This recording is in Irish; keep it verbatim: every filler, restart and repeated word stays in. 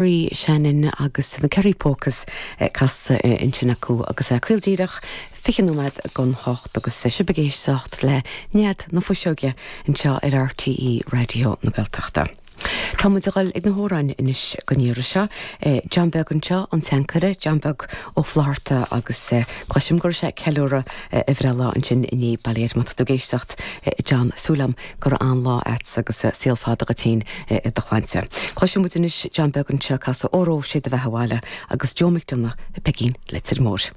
Shannon agus na Kerry Polkas casta ansin acu agus caol díreach fiche nóiméad don hocht agus sibh ag éisteacht le Nead na Fuiseoige anseo ar RTÉ Raidió na Gaeltachta. Tá muid ag dul ag na hamhráin anois don iarraidh seo. John Beag anseo an t-ancaire John Beag Ó Flatharta agus cloisim gur sé ceiliúradh a bhreithlá ansin inné bailéir má tá tú ag éisteacht John súil agam gur an-lá agat agus saol fada go féin i do shláinte. Cloisim muid anois John Beag anseo ag casadh Óró Sé do Bheatha 'Bhaile agus Joe McDonagh Peigín Leitir Móir.